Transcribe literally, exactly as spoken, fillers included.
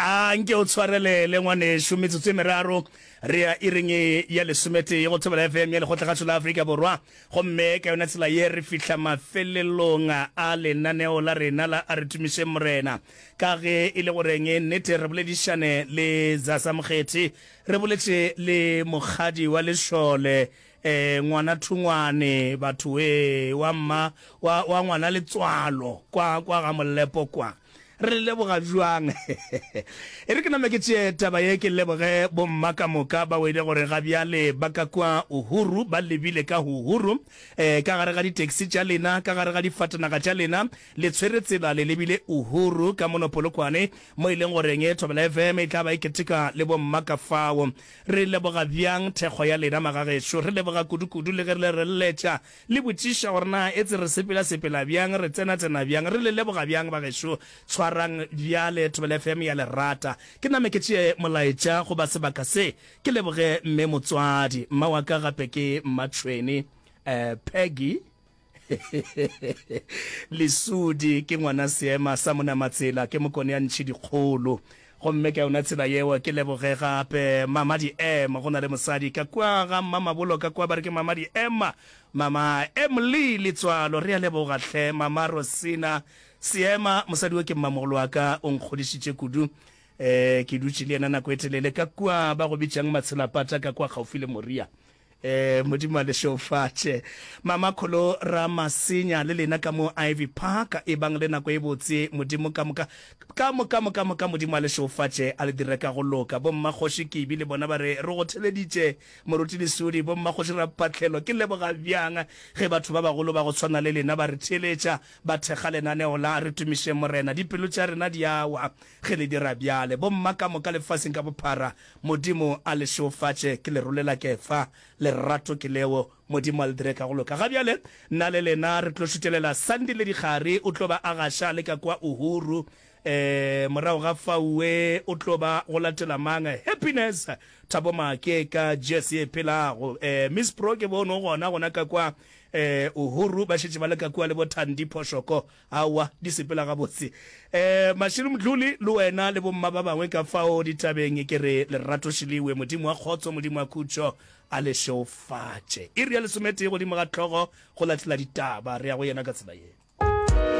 A nke o tshwarelele ngwanešu, metsotso e meraro re ya iring ya lesometee go Thobela F M ya Lekgotlakgašo la Afrika Borwa. Gomme ka yona tsela ye re fihla mafelelong a lenaneo la rena la A Re Tumišeng Morena. Ka ge e le goreng nnete re boledišane le Zaza Mokgethi, re boletše le mokgadi wa lešole, eh, ngwana thungwane, batho we, wa mma, wa, wa ngwana letswalo, kwa, kwa ga Molepo kwa. Re le leboga bjang? E re ke name ke tšee taba ye ke leboge bomma ka moka ba wele gore ga bjale ba ka kua Uhuru, ba lebile ka Uhuru, eh, ka gare ga di-taxi tša lena, ka gare ga difatanaga tša lena, le tshwere tsela le lebile Uhuru ka mono Polokwane, mo e leng goreng Thobela F M e tla ba e keteka le bomma ka fao. Re leboga bjang thekgo ya lena magagešo, re leboga kudu-kudu le ge re le re letša le botšiša gore na etse re sepela-sepela bjang, re tsena-tsena bjang, re le leboga bjang bagešo. Tshwarang bjale Thobela F M ya le rata. Ke name ke tšee molaetša goba sebaka se ke leboge mme motswadi, mma wa ka gape ke Mmatšhweni, eh, Peggy Lesudi, ke ngwana seema sa Monamatsela, ke mokone ya ntšhi dikgolo. Gomme ka yona tsela yeo ke leboge gape Mama Di-M, go na le mosadi ka kua ga Mmamabolo ka kua ba re ke Mama Di-M, Mama Emily Letswalo, re a leboga hle Mama Rosina Seema, mosadi wo ke mmamogolo wa ka, o nkgodišitše kudu. Eh, ke dutše le yena nako e telele ka kua ba go bitšang Matshelapata ka kua kgaufi le Moria. Eh, Modimo a le šeofatše. Mama Kholo Ramasenya le lena ka mo Ivy Park, e bang le nako e botse. Modimo ka moka, ka moka, moka, moka, Modimo a le šeofatše, a le dire ka go loka. Bommakgoši Kibi le bona ba re, re go theleditše, Moruti Lesudi. Bommakgoši Rapatlelo, ke leboga bjang ge batho ba bagolo ba go tshwana le lena ba re theeletša, ba thekga lenaneo la Re Tumišeng Morena. Dipelo tša rena di a wa ge le dira bjale. Bomma ka moka lefaseng ka bophara, Modimo a le šeofatše. Ke le rolela kefa. Lerato ke leo. Modimo a le dire ka go loka. Ga bjale, nna le lena re tlo šutelela Sandile Dikgari. O tlo ba a gaša le ka kwa Uhuru. E, morago ga faue o tlo ba go latela mang? Happiness Thabo Make ka Jesse e phelago. E, Miss Pro ke bone o gona gona ka kwa e, Uhuru. Ba šetše ba le ka kua le bo Thandi Phoshoko. Aowa, di sepela gabotse. E, Mashilo Mdluli le wena le bomma ba bangwe ka fao ditabeng, ke re lerato šiliwe. Modimo wa kgotso, Modimo wa khutšo a le šeofatše. Iri ya lesometee godimo ga hlogo go latela ditaba. Re ya go yena ka tsela ye.